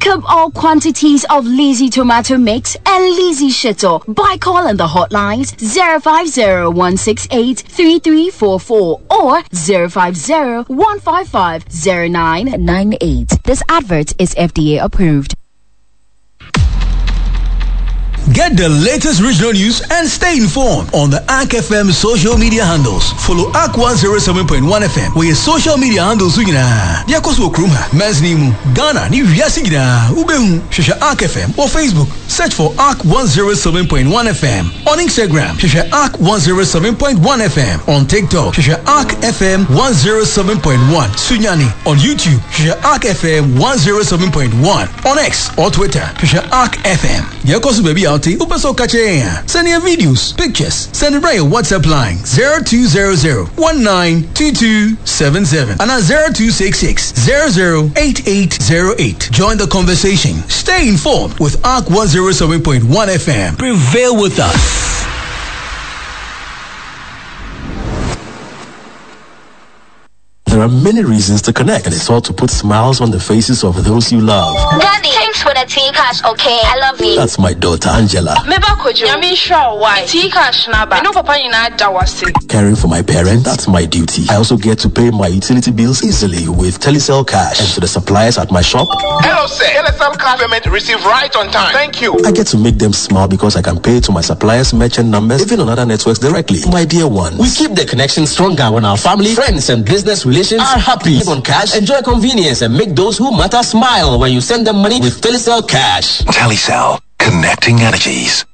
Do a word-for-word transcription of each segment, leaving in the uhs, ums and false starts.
Pick up all quantities of Lizzy tomato mix and Lizzy Shito by calling the hotlines zero five zero one six eight three three four four or zero five zero one five five zero nine nine eight. This advert is F D A approved. Get the latest regional news and stay informed on the A R C F M social media handles. Follow A R C one zero seven point one F M with your social media handles. Yakoso Kruma, Mesnimu, Ghana, New Yasigina, Ubehu, Shasha A R C F M or Facebook. Search for A R C one zero seven point one F M. On Instagram, Shasha A R C one zero seven point one F M. On TikTok, Shasha A R C F M one zero seven point one. Sunyani. On YouTube, Shasha A R C F M one zero seven point one. On X or Twitter, Shasha A R C F M. Yakoso baby out. Send your videos, pictures. Send it right your WhatsApp line zero two zero zero one nine two two seven seven and at zero two six six zero zero eight eight zero eight. Join the conversation. Stay informed with A R C one zero seven point one F M. Prevail with us. There are many reasons to connect, and it's all to put smiles on the faces of those you love. Daddy, thanks for the tea cash, okay? I love you. That's my daughter, Angela. Caring for my parents, that's my duty. I also get to pay my utility bills easily with Telecel Cash. And to the suppliers at my shop. Hello, sir. Telecel Cash payment received right on time. Thank you. I get to make them smile because I can pay to my suppliers' merchant numbers, even on other networks directly. My dear ones. We keep the connection stronger when our family, friends, and business relations are happy. Live on cash, enjoy convenience, and make those who matter smile when you send them money with Telecel Cash. Telecel, connecting energies.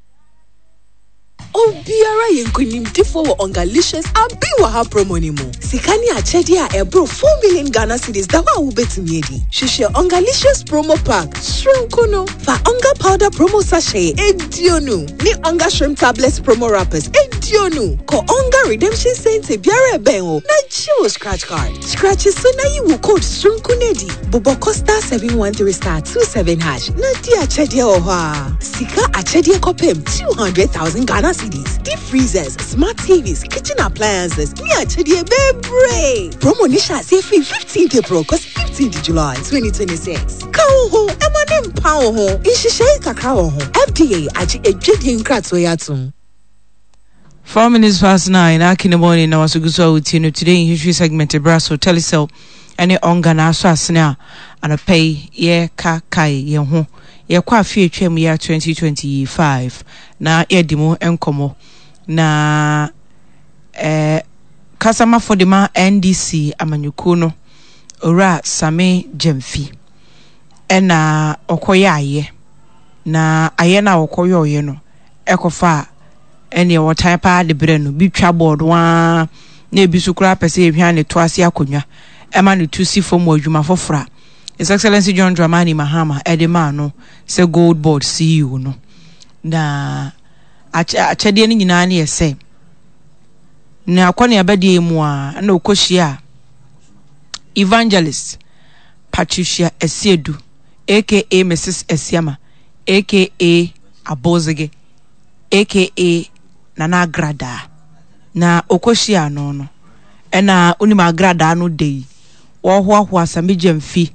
Obiara yenkunimdifo wo Ongalicious abi wa ha promo ni mu. Sikani achedi a ebro four million Ghana cedis da wa ubetumi edi. Hwehwe Ongalicious promo pack shrinkono fa Onga powder promo sachet edionu ni Onga shrimp tablets promo wrappers edionu ko Onga redemption center biara eben o na jiwo scratch card. Scratch so na yiwu code shrinkunedi boboko star seven one three star two seven hash na di achedi o ha. Sika achedi kopem two hundred thousand Ghana cedis. Deep freezers, smart T Vs, kitchen appliances. Me actually baby. Promo nisha say free fifteenth April, cause fifteenth July twenty twenty-six. Kawo ho, emanem pawo ho, inshishe kakao ho. F D A aji ejedi nkratso. Four minutes past nine, in the morning, now so today in history segment, Brasso Telecel, and Onga na so asena and a pay ye ka kai ye ho. Yɛkɔ afi atwam year twenty twenty-five na yɛdi mu nkɔmɔ na eh kasamafo de ma N D C amanyɔkuo no Owura Sammy Gyamfi ɛna ɔkɔyɛ ayɛ na ayɛ na ɔkɔyɛ ɔyɛ no ɛkɔfa ɛne wɔtan paa de brɛ no bi twa board wa na ebi so koraa pɛ sɛ ehwɛ ne to ase akonnwa ɛma ne tu si fam wɔ adwuma foforɔ. His Excellency John Dramani Mahama Edemano se Gold Board C E O no. Na achede ni nyina na yese. Na akwa na abade mu a na okohia Evangelist Patricia Esiedu aka Missus Esiama aka Abozege aka Nana Agrada. Na okohia no no. Ena onim Agrada no dey. Wo hoahoa Sammy Gyamfi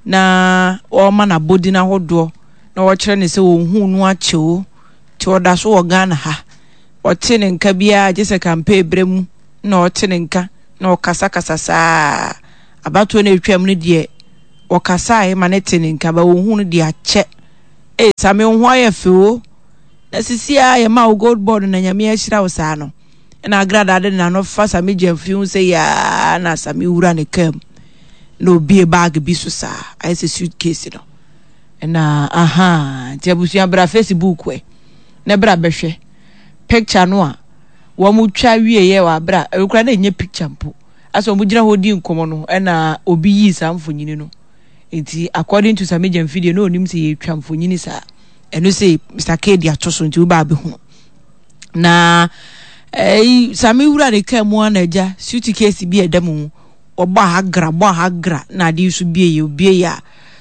na o ma na bodi na hodo na wo kyerɛ ne sɛ wo hu no akyeo ti oda so wo Ghana ha o te ne nka bia gye sɛ campaign bremu na o te ne nka na o kasa kasa saa abato na etwam no de o kasa e ma ne te ne nka ba wo hu no de akyɛ eh Sammy ho ayɛ feo na sisi a ye ma wo Gold Board na nyame ahyira wo saa no na Agrada de na no fa Sammy Gyamfi hu sɛ ya na Sammy wura ne kam no be a bag bi so saa I say suitcase no na aha nti abusua bra Facebook we na bra behwe picture no a wo mu twa wie ye wa bra e kura na enye picture mpo aso mo gina ho di nkomo no na obi yi saa mfonyini no nti according to Sammy Gyamfi de no onim se ye twa mfonyini saa eno se Mister K di ato so nti wo ba be hu na eh Sammy wura ne ka mu na agya suitcase bi eda mu obo agra bo agra na ade so bie ye obie ya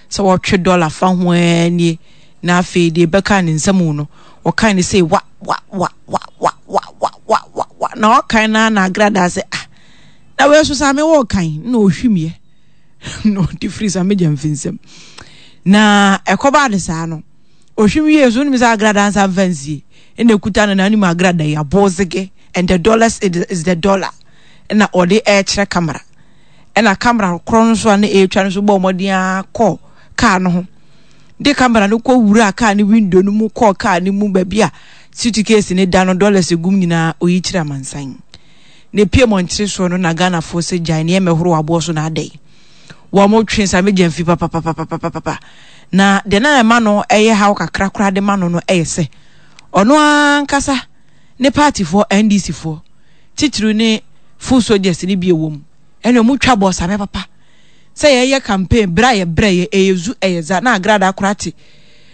sɛ wɔtwe dollar fa ho ani na afei de bɛka ne nsɛm no wɔkan ne sɛ wa wa wa wa wa wa wa wa wa wa na wɔkan na na Agrada sɛ ah na we so Sammy wɔkan na ohwimie no di free Sammy Gyamfi nsɛm Na ɛkɔbaa ne saa no ohwim wie so nim sɛ Agrada nsa mfa nsie ɛna ekuta no n'anim. Agrada yi abɔɔzege and the dollars is the dollar, ɛna ɔde ɛɛkyerɛ camera, ɛna camera korɔ no nso a na ɛretwa no nso bɔ ɔmɔden akɔ kaa no ho de camera no kɔ wura kaa no window no mu, kɔɔ kaa no mu baabi a suitcase ne da no, dollars egum nyinaa oyi kyerɛ amansan. Na epie mɔnkyere soɔ no na Ghanafoɔ sɛ gyae nneɛma ɛhoro aboɔ so na adɛ wɔn mo twe Sammy Gyamfi papapapapapa. Na deɛ na ɛma no ɛyɛ haw kakra koraa de ma no no ɛyɛ sɛ ɔno ankasa ne partyfoɔ, N D C foɔ titiri ne foot soldiers ne bi ɛwɔ mu, ɛna ɔmo twa bɔ Sammy papa sɛ yɛyɛ campaign bere a yɛbrɛ yɛ ɛyɛ zu ɛyɛ za na Agrada koraa te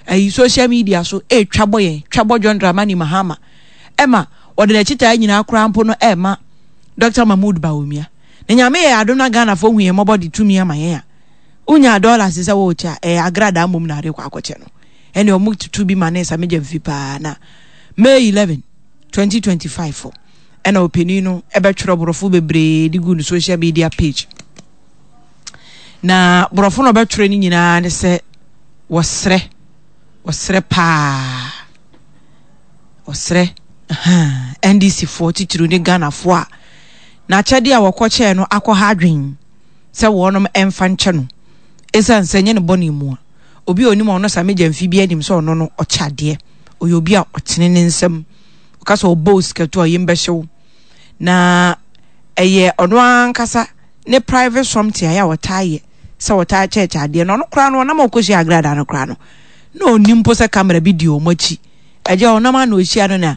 ɛyi social media so ɛretwa bɔ yɛn, twa bɔ John Dramani Mahama, ɛma wɔde n'akyi nyinaa koraa mpo no ɛɛma Doctor Mahmood Bawumia. Na Nyame yɛ adom na Ghanafoɔ hu yɛn mmɔbɔ de tumi ama yɛn a wonya dollars sɛ wɔrekyɛ a, ɛyɛ Agrada mmom na ade kɔ akɔkyɛ no. Ɛne ɔmo tutu bi ma ne Sammy Gyamfi paa. Na May eleven twenty twenty-five ɛna ɔpanin no ɛbɛtwerɛ borɔfo bebree de gu ne social media page. Na borɔfo no ɔbɛtwerɛ no nyinaa ne sɛ wɔsrɛ, wɔsrɛ paa, wɔsrɛ N D C foɔ titiri ne Ghanafoɔ a n'akyɛdeɛ a wɔkɔkyɛɛ no akɔ ha adwen sɛ wɔnom ɛmfa nkyɛ no, ɛsiane sɛ nyɛ ne bɔne mu a obi a onim ɔno Sammy Gyamfi bi anim sɛ ɔno no ɔkyɛ adeɛ, ɔyɛ obi a ɔtene ne nsam, ɔka sɛ ɔbɔ sikatu a yɛm bɛhyew na ɛyɛ ɔno ankasa ne private something a yɛ a ɔtaa yɛ sɛ ɔtaa kyɛkyɛ adeɛ. Na ɔno koraa no ɔnam a ɔkɔhyia Agrada no koraa no na ɔnim mpo sɛ camera bi di wɔn akyi. Ɛgya ɔnam a na ɔhyia no na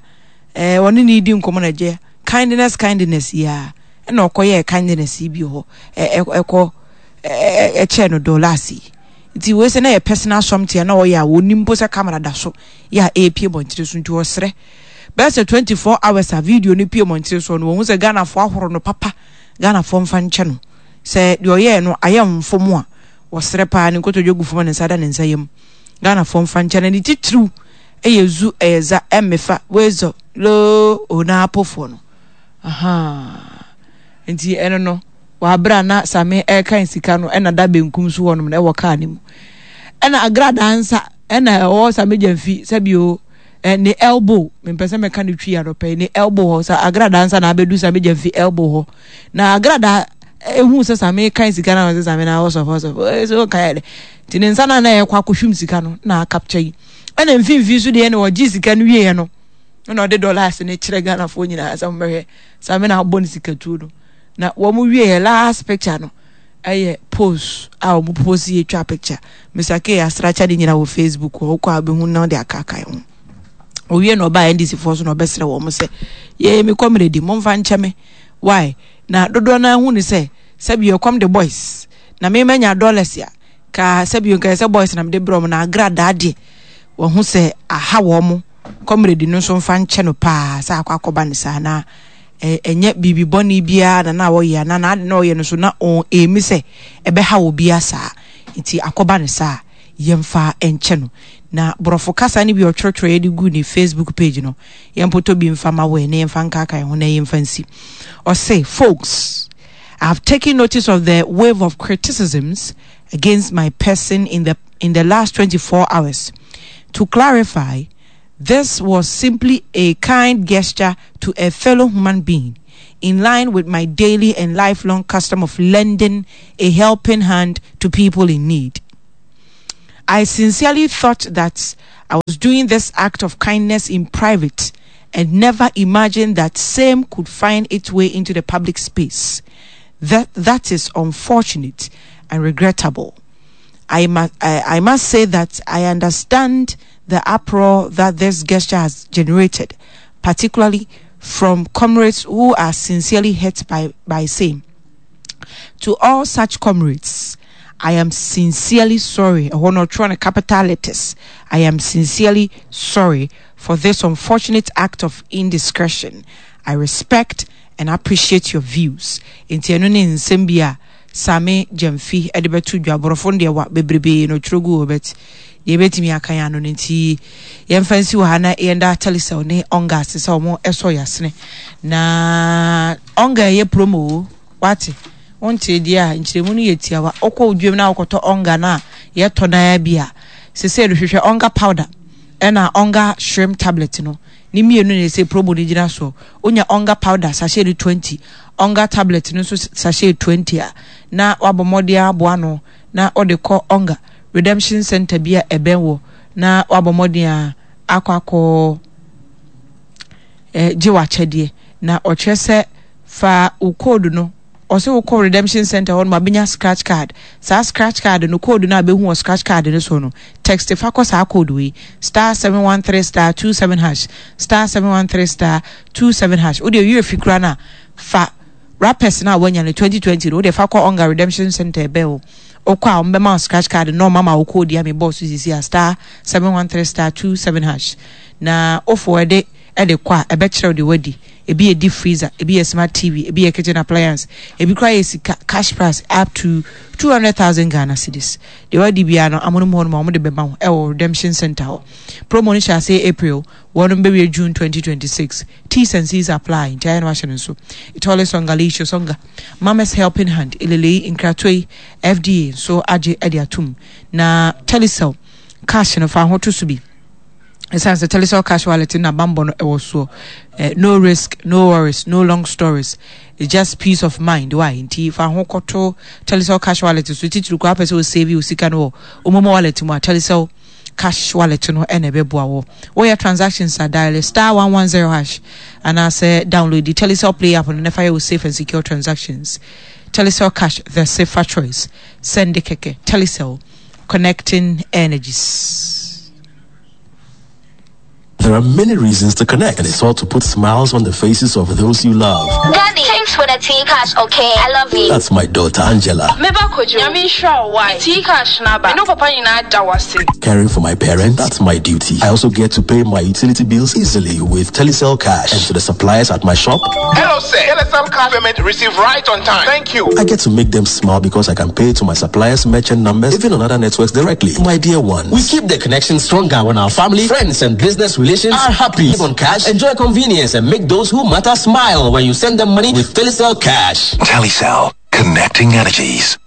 ɛɛ ɔne ne di nkɔmɔ na ɛgya kindness kindness yi a ɛna ɔkɔyɛ kindness yi bi hɔ ɛ ɛkɔ ɛ ɛkyɛ no dollars yi. Nti wei sɛ na yɛ personal something na ɔyɛ a wɔnim mpo sɛ camera da so yɛ a ɛrepie bɔnkyere so. Nti ɔsrɛ bɛyɛ sɛ twenty four hours a video no pie mmɔnten so no, wɔn sɛ Ghanafoɔ ahoro no papa, Ghanafoɔ mfa nkyɛ no sɛ deɛ ɔyɛɛ no ayɛ mfom a wɔsrɛ paa, ne nkotodwe gu fam, ne nsa da ne nsa yam, Ghanafoɔ mfa nkyɛ no. Ne titiriw ɛyɛ zu ɛyɛ za ɛmmefa wezɔ loo onaapofoɔ no aha. Nti ɛno no wabere na Sammy ɛrekan sika no ɛna da benkum so hɔnom na ɛwɔ kaa ne mu, ɛna Agradaa nsa ɛna ɛwɔ Sammy Gyamfi sɛbio ɛ ne elbow, mepɛ sɛ mɛka ne twi adɔpɛ, ne elbow hɔ sɛ Agradaa nsa na abɛdu Sammy Gyamfi elbow hɔ. Na Agradaa ehu sɛ Sammy kan sika na ɔsɛ Sammy na ɔsɔfo ɔsɔfo ɛsɛ ɔkan yɛ dɛ, nti ne nsa na na ɛkɔ akɔhwim sika no na akapkyɛ yi. Ɛna mfimfini so deɛ na ɔgye sika no wieɛ no ɛna ɔde dollars ne kyerɛ Ghanafoɔ nyinaa sɛ wɔbɛhwɛ Sammy na abɔ ne sika tuo no. Na wɔn wie yɛ last picture no ɛyɛ post a wɔn post yɛ twa picture Mister K asrakyɛ de nyina wɔ Facebook hɔ kɔ a bɛhu na ɔde akaakae ho. Owie na ɔbaa N D C foɔ so na ɔbɛsrɛ wɔn sɛ yee mi kɔmmerɛ di momfa nkyɛ me why na dodoɔ no ahu ne sɛ sɛbi ɛkɔm de boys na mema nya dollars a ka sɛbi nka sɛ boys na mede brɛ wɔn. Na Agradaa deɛ wɔn ho sɛ aha wɔn mo kɔmmerɛ di no nso mfa nkyɛ no paa sɛ akɔ akɔba ne saa na ɛnyɛ biribi bɔne biara na na wɔyɛ na n'ade na ɔyɛ no so na ɔn emi sɛ ɛbɛha wɔ biara saa, nti akɔba ne saa yɛmfa nkyɛ no. Na borɔfo kasa no bi ɔtwerɛtwerɛ yɛde gu ne Facebook page no, yɛmpotɔ bi mfa ma wɔ na yɛmfa nkaakae ho na yɛmfa nsi. Ɔse, "Folks, I have taken notice of the wave of criticisms against my person in the in the last twenty-four hours. To clarify, this was simply a kind gesture to a fellow human being, in line with my daily and lifelong custom of lending a helping hand to people in need. I sincerely thought that I was doing this act of kindness in private and never imagined that same could find its way into the public space. That, that is unfortunate and regrettable. I must, I, I must say that I understand the uproar that this gesture has generated, particularly from comrades who are sincerely hurt by, by same. To all such comrades, I am sincerely sorry." Ɛhɔ capital letters. "I am sincerely sorry for this unfortunate act of indiscretion. I respect and appreciate your views." Nti ɛno ne nsɛm bi a Sammy Gyamfi ɛde bɛto dwa. Aborɔfo no deɛ wa bebrebee no twerɛ gu hɔ, but deɛ yɛbɛtumi aka yɛn ano no nti yɛmfa nsi wɔ ha na yɛnda Telecel ne Onga ase sɛ ɔmo ɛsɔ yɛasene. Na Onga ɛyɛ promo o, wate Wonte deɛ a nkyerɛmu no yɛ tiawa. Wokɔ odwam na wokɔtɔ onga na yɛtɔ na bi a sese rehwehwɛ onga powder ɛna onga shrimp tablet no. Ni mmienu na ɛsɛ promo no gyina so. Wonya onga powder sachet no twenty, onga tablet no nso sachet twenty a na wabɔ mmɔden aboa no na ɔde kɔ onga redemption center bi a ɛbɛn wɔ na wabɔ mmɔden a akɔ akɔ eh, gye w'akyɛdeɛ. Na ɔkyerɛ sɛ fa wo code no, ɔsɛ wokɔ redemption center hɔ no ma scratch card. Saa scratch card no code no a bɛhu wɔ scratch card no so no, text fa kɔ saa code wei star seven one three star two seven hash star seven one three star two seven hash. Wode wie fi kura na fa rappers na wanya no twenty twenty no wode fa kɔ onga redemption center ɛbɛn wo. Okɔ a ɔmbɛma scratch card no mama wo code ya me boss sisi a star seven one three star two seven hash. Na ofo ede ede kɔ a ɛbɛkyerɛw de wadi. Ebi yɛ deep freezer, ebi yɛ smart T V, ebi yɛ kitchen appliance, ebi kura yɛ sika cash price up to two hundred thousand Ghana cedis. De wadi bia no amono mu hɔ no ma ɔmo de bɛma wo ɛwɔ redemption center hɔ. Promo no hyɛ ase April, wɔn bɛwie June twenty twenty-six. T's and C's apply. Nti ayɛ no ahyɛ no nso. Itole songa leisho songa. Mama's helping hand. Elele nkratoi F D A so agye ɛde atum. Na Telecel cash no fa ho to so bi. Ɛsiane sɛ Telecel cash wallet na bambɔ no ɛwɔ soɔ. Eh, no risk, no worries, no long stories. It's just peace of mind. Why? Nti fa ho kɔto Telecel cash wallet so titiri kɔ apɛ sɛ o save o sika no wɔ o momo wallet mu a Telecel cash wallet no ɛna ɛbɛboa wɔ. Woyɛ transactions a dial star one one zero hash anaasɛ download the Telecel Play app no na fa yɛ wo safe and secure transactions. Telecel Cash, the safer choice. Send keke. Telecel, connecting energies. There are many reasons to connect, and it's all to put smiles on the faces of those you love. Daddy, thanks for the tea cash, okay? I love you. That's my daughter, Angela. Caring for my parents, that's my duty. I also get to pay my utility bills easily with Telecel Cash, and to the suppliers at my shop. Hello, sir. Telecel Cash payment received right on time. Thank you. I get to make them smile because I can pay to my suppliers' merchant numbers, even on other networks directly. My dear ones. We keep the connection stronger when our family, friends, and business relations are happy. On cash, enjoy convenience, and make those who matter smile when you send them money with Telecel Cash. Telecel, connecting energies.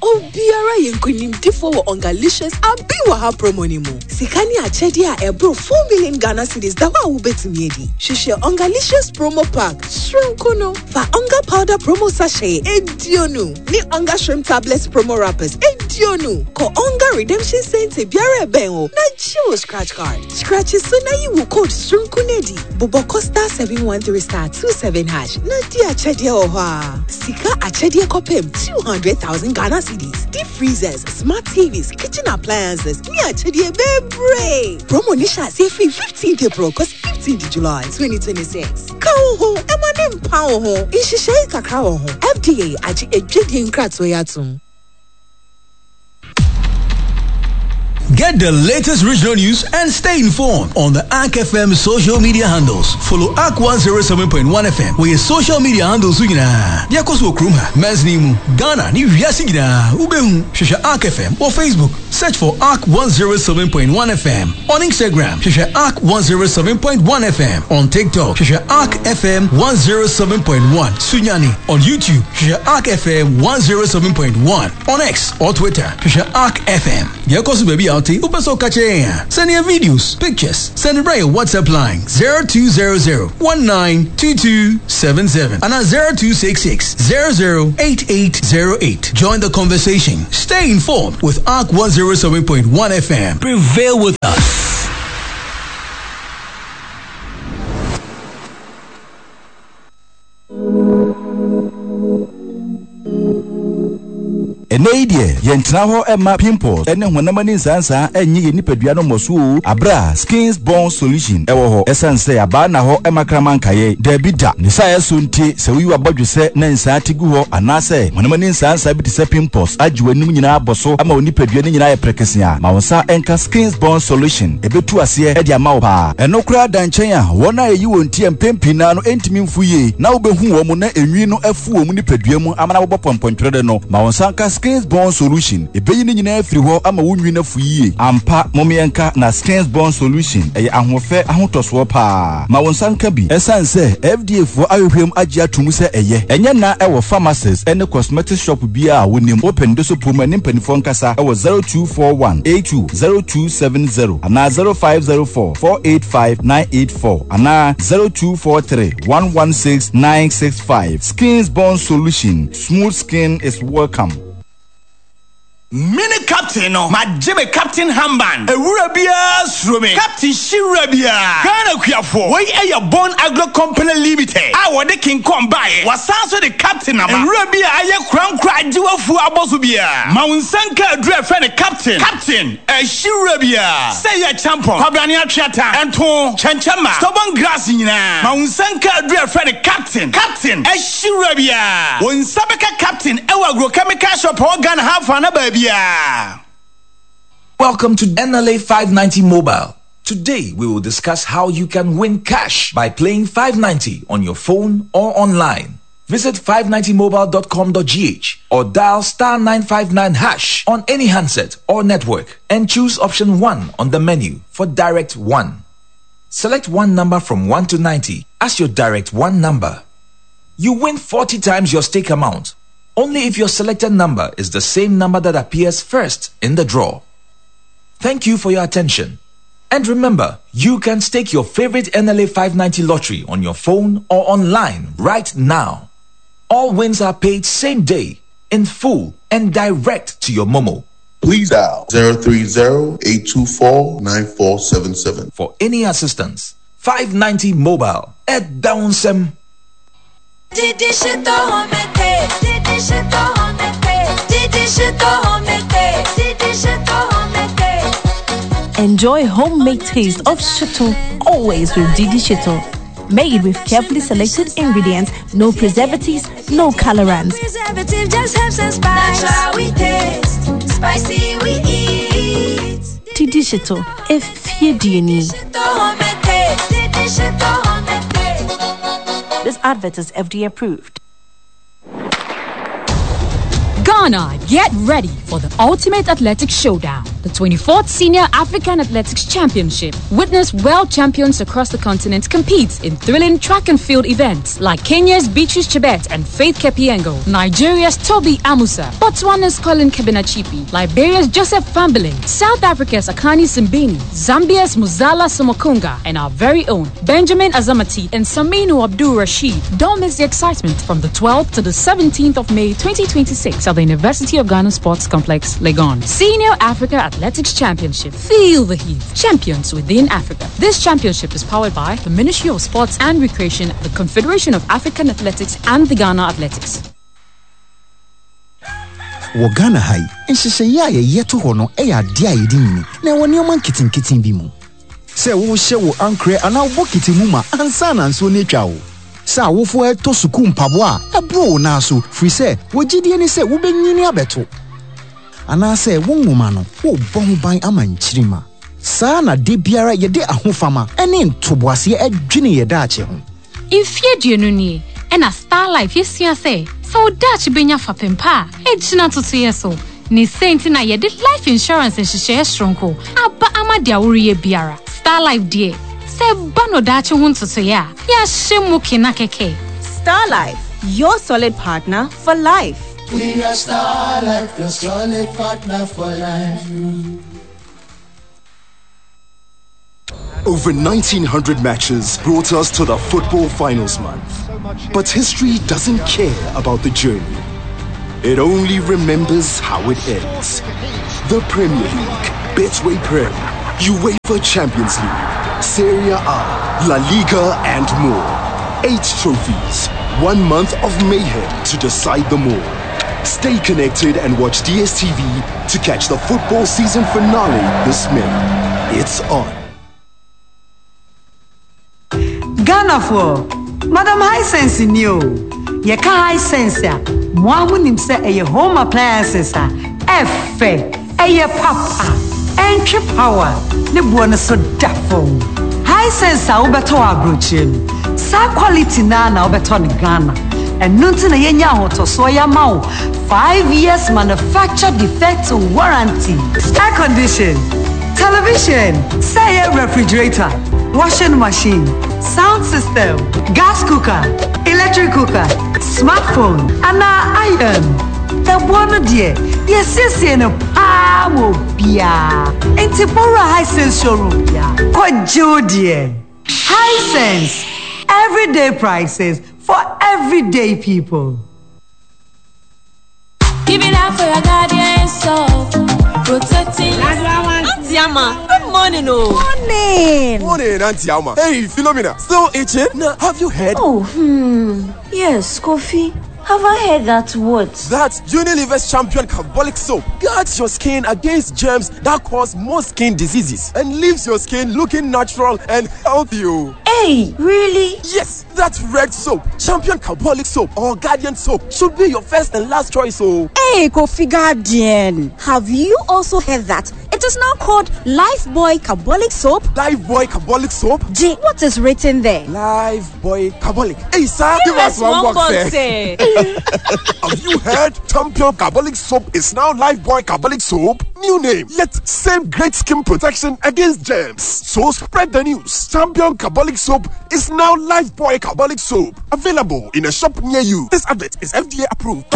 Obiara yenkunimdifo wɔ Ongalicious abi wɔ ha promo ni mu. Sika ni akyɛdeɛ a ɛboro four million Ghana cedis da hɔ a wobɛtumi adi. Hwehwɛ Ongalicious promo pack soronko no. Fa Onga powder promo sachet eduonu ne Onga shrimp tablets promo wrappers eduonu. Kɔ Onga redemption center biara ɛbɛn wo na gye wo scratch card. Scratch so na yi wo code soronko no adi. Bobɔ kɔ star seven one three star two seven hash na di akyɛdeɛ wɔ hɔ a. Sika akyɛdeɛ kɔpem two hundred thousand Ghana cedis, deep freezers, smart T Vs, kitchen appliances, me akyɛdeɛ bebree. Promo ni hyɛ ase firi fifteenth April kɔsi fifteenth July twenty twenty-six. Ka wo ho, ɛma ne mpa wo ho. Nhyehyɛe kakra wɔ ho. F D A agye edwadie nkratoɔ yi atom. Get the latest regional news and stay informed on the A R C F M social media handles. Follow A R C one zero seven point one F M with your social media handles. Yakoso Krumha, Mesnimu, Ghana, ni wiase nyinaa. Ubehu, hwehwɛ A R C F M or Facebook. Search for A R C one zero seven point one F M. On Instagram, hwehwɛ A R C one zero seven point one F M. On TikTok, hwehwɛ A R C F M one zero seven point one. Sunyani. On YouTube, hwehwɛ A R C F M one zero seven point one. On X or Twitter, hwehwɛ A R C F M. Yakoso baby out. Send your videos, pictures. Send it right your WhatsApp line zero two zero zero one nine two two seven seven and at zero two six six zero zero eight eight zero eight. Join the conversation. Stay informed with A R C one zero seven point one F M. Prevail with us. Ene deɛ yɛntena hɔ ɛma pimples ɛne honam ani nsansan ɛnye yɛ nipadua no mmɔso abra skins bone solution ɛwɔ hɔ ɛsan sɛ abaa na hɔ ɛma kraman nkaeɛ daabi da ne sa ɛso nti sɛ woyi wabɔdwe sɛ na nsan te gu hɔ anaasɛ honam ani nsansan bi te sɛ pimples agye w'anim nyinaa bɔ so ama wo nipadua no nyinaa yɛ prekese a ma wo nsa ɛnka skins bone solution ɛbɛtu aseɛ ɛde ama wo paa ɛno koraa da nkyɛn a wɔn a ɛyi wɔn ti mpempii naa no ɛntumi mfu yie na wobɛhu wɔn mu na enwi no afu wɔn mu nipadua mu amana wobɔ pɔmpɔntwerɛ no ma wo nsa nka skins Skins Bond Solution ebeyi ne nyinaa firi hɔ ama wo nwi no afu yie. Ampa momiɛnka na Skins Bond Solution ɛyɛ ahoɔfɛ ahotɔsoɔ paa. Ma wo nsa nka bi ɛsiane sɛ F D A foɔ ahwehwɛm agye ato mu sɛ ɛyɛ. Ɛnyɛ na ɛwɔ pharmacies ɛne cosmetic shop biara a wonim. Open de so pom ne mpanimfoɔ nkasa ɛwɔ zero two four one eight two zero two seven zero anaa zero five zero four four eight five nine eight four anaa zero two four three one one six nine six five. Skins Bond Solution. Smooth skin is welcome. Mene Captain no, magye me captain armband. Ewura biara suro me, Captain hyewura biara. Ghana kuafoɔ, wei ɛyɛ Bon Agro Company Limited a wɔde King Kong baeɛ. Wɔsan so de Captain aba. Ewura bi a ayɛ korankora agye wafuo abɔ so biara, ma wo nsa nka aduru a ɛfrɛ no Captain. Captain ɛhyewura biara, sɛ yɛ champon, kwabrane, atweata, ɛnto kyɛnkyɛnma, stubborn grass nyinaa, ma wo nsa nka aduru a ɛfrɛ no Captain. Captain ɛhyewura biara, wo nsa bɛka Captain ɛwɔ agrochemical shop a ɛwɔ Ghana ha afa na baabiara. Welcome to N L A five ninety Mobile. Today we will discuss how you can win cash by playing five ninety on your phone or online. Visit five ninety mobile dot com dot G H or dial star nine five nine hash on any handset or network and choose option one on the menu for Direct one. Select one number from one to ninety as your Direct one number. You win forty times your stake amount only if your selected number is the same number that appears first in the draw. Thank you for your attention. And remember, you can stake your favorite N L A five ninety lottery on your phone or online right now. All wins are paid same day, in full, and direct to your Momo. Please dial zero three zero, eight two four nine four seven seven. For any assistance, five ninety Mobile at Downsem. Didi shito homete, didi shito homete, didi shito homete, didi shito homete. Enjoy homemade taste of shito always with Didi Shito. Made with carefully selected ingredients, no preservatives, no colorants. Preservative just helps and spice. Natural we taste, spicy we eat. Didi Shito, if you need. Shito homete, didi shito homete. This advert is F D A approved. Ghana, get ready for the ultimate athletic showdown, the twenty-fourth Senior African Athletics Championship. Witness world champions across the continent compete in thrilling track and field events like Kenya's Beatrice Chebet and Faith Kipyegon, Nigeria's Tobi Amusan, Botswana's Colin Kebinatshipi, Liberia's Joseph Fambeling, South Africa's Akani Simbine, Zambia's Muzala Simukonga, and our very own Benjamin Azamati and Saminu Abdul Rashid. Don't miss the excitement from the twelfth to the seventeenth of May twenty twenty-six at the University of Ghana Sports Complex, Legon. Senior Africa Athletics Championship. Feel the heat. Champions within Africa. This championship is powered by the Ministry of Sports and Recreation, the Confederation of African Athletics, and the Ghana Athletics. Wɔ Ghana ha yi, nhyehyɛeɛ a yɛyɛ to hɔ no yɛ adeɛ a yɛde nyini na ɛwɔ nneɛma nketenkete bi mu sɛ wohyɛ wo ankorɛ anaa wo bɔkete mu ma ansa na nsuo no atwa wo, sɛ awofoɔ ɛtɔ sukuu mpaboa a ɛboro wo nan so firi sɛ wɔgyidie ne sɛ wobɛnyini abɛto, anaasɛ wo nwoma no wobɔ ho ban ama nkyirima. Saa na de biara yɛde ahofama ne ntoboaseɛ adwene yɛ daakye ho. Mfie aduonu nie ɛna Starlife yɛsua sɛ sɛ wo daakye bɛnya fapem pa a ɛgyina totoyɛ so ne sɛ nti na yɛde life insurance nhyehyɛeɛ soronko aba ama deɛ woreyɛ biara. Starlife deɛ, sɛ ba no daakye ho ntotoeɛ a, yɛahyɛ mu kena kɛkɛ. Star Life, your solid partner for life. We are Star Life, your solid partner for life. Over nineteen hundred matches brought us to the football finals month. But history doesn't care about the journey. It only remembers how it ends. The Premier League, Betway Prem, UEFA Champions League, Serie A, La Liga, and more. Eight trophies, one month of mayhem to decide them all. Stay connected and watch D S T V to catch the football season finale this May. It's on. Ghanafoɔ, Madam Hisense ni o. Yɛka Hisense a, mo a monim sɛ ɛyɛ home appliances a ɛfɛ, ɛyɛ papa, ɛntwe power, ne boɔ no so da fam. Hisense a wobɛtɔ wɔ aburokyire no, saa quality naa na wobɛtɔ no Ghana. Ɛno nti na yɛnya ahotɔsoɔ yɛama wo five years manufacture defect warranty. Air condition, television, sɛ ɛyɛ refrigerator, washing machine, sound system, gas cooker, electric cooker, smartphone, anaa iron. Ɛboɔ no deɛ, yɛsiesie no paa wɔ biara. Nti bɔwura Hisense showroom bia. Kɔgye wo deɛ. Hisense, everyday prices for everyday people. Give it up for your guardian soul. Protecting Auntie Ama, good morning, oh. Morning. Morning, Auntie Alma. Hey, Philomena, still itching? Now, have you heard? Oh, hmm. Yes, Kofi. Have I heard that what? That Unilever's Champion Carbolic Soap guards your skin against germs that cause most skin diseases and leaves your skin looking natural and healthy. oh. Hey, really? Yes, that red soap, Champion Carbolic Soap or Guardian Soap should be your first and last choice. Oh, Hey, Kofi Guardian. Have you also heard that it is now called Lifebuoy Carbolic Soap? Lifebuoy Carbolic Soap? G, what is written there? Lifebuoy Carbolic. Hey, sir, give, us, one, box, eh. Have you heard? Champion Carbolic Soap is now Lifebuoy Carbolic Soap. New name, yet same great skin protection against germs. So spread the news. Champion Carbolic Soap is now Lifebuoy Carbolic Soap. Available in a shop near you. This advert is F D A approved.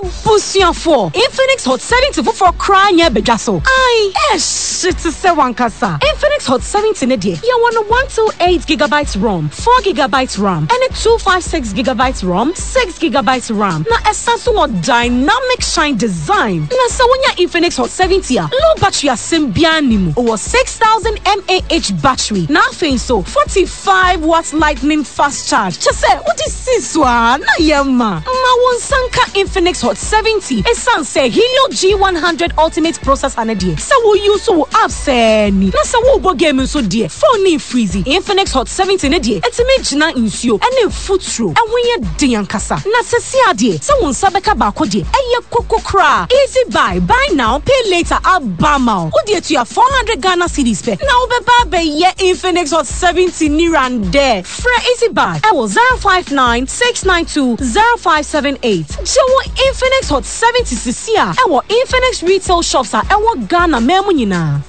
Ebusuafo, Infinix Hot seventy four crying bedwa so. Ai, eh, shit se wankasa. Infinix Hot seventy ne de. Ya want one two eight gigabytes ROM, four gigabytes RAM, and a two five six gigabytes ROM, six gigabytes RAM. Na esanso wɔ dynamic shine design. Na sa wonya Infinix Hot seventy a, low battery asem bia ni mu. Owɔ six thousand milliamp hour battery. Na afei so forty-five watt lightning fast charge. Kyese, what is this one? Na yema. Ma won sanka Infinix Hot seventy. Esan se Helio G one hundred Ultimate processor ne de. Sa wo use wo app se ni. Na sa wo bo game so de. Phone ni freezy. Infinix Hot seventy ne de. Etime gina nsuo ene futuro. Ehun ye den ankasa. Na se si ade. Sa wo nsa beka baako de. Eye kokokra. Easy buy, buy now, pay later abama. Wo de to ya four hundred Ghana cedis pe. Na wo be ba be ye Infinix Hot seventy ni rande. Frɛ Easy Buy. Ewo zero five nine six nine two zero five seven eight. Jewo Infinix Hot seventy sisi a ewo Infinix retail shops a ewo Ghana memu nyina.